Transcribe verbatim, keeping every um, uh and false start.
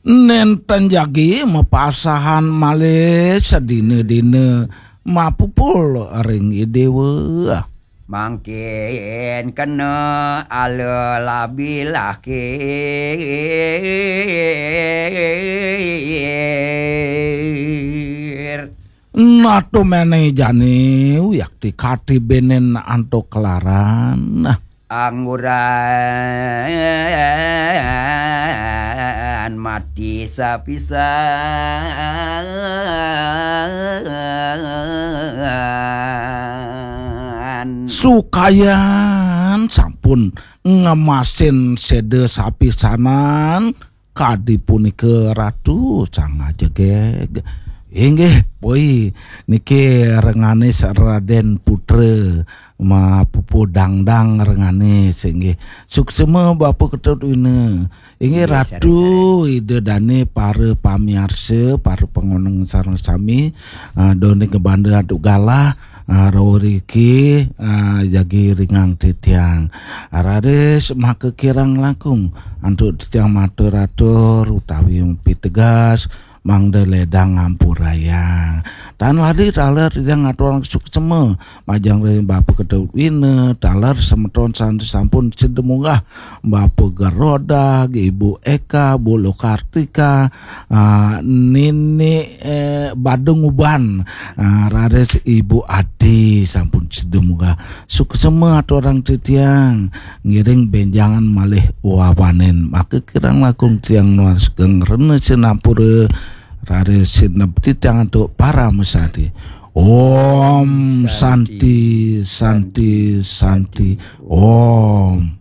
Nénten jagi mapasahan malih sadina-dina mapupul ring Idéwa. Mangkin kena ala labi lahir. Natu méné jani wiakti kati bénén antuk kelaran. Angguran mati sapisan. Sukayan sampun ngemasin séda sapisanan, kadi punika Ratu Sang Ajegég. Inggih, poi niki Renganis Radén Putra, mapupu dangdang Renganis, inggih. Suksema Bapa Ketut Wina. Inggih, Ratu, Ida Dané, para pamiarsa, para pangoneng sareng sami, ah, done kebanda antuk galah, ah, rauriki, ah, jagi ringang titiang. Ah, raris maka kirang langkung antuk titiang matur-atur utawi pitegas, mangda ledang ngampurayang. Tan lali taler titiang ngaturang suksema majeng ring Bapa Ketut Wina, taler semeton sane sampun sida munggah, Bapa Gerodag, Ibu Eka, Bu Lokartika, ah, Nini, eh, Badung Uban, ah, raris Ibu Adi sampun sida munggah. Suksema aturang titiang, ngiring benjangan malih wawanen. Maka kirang langkung tiang nunas geng rena sinampura, raris sineb titiang antuk paramasari. Om Santi, Santi, Santi, Om.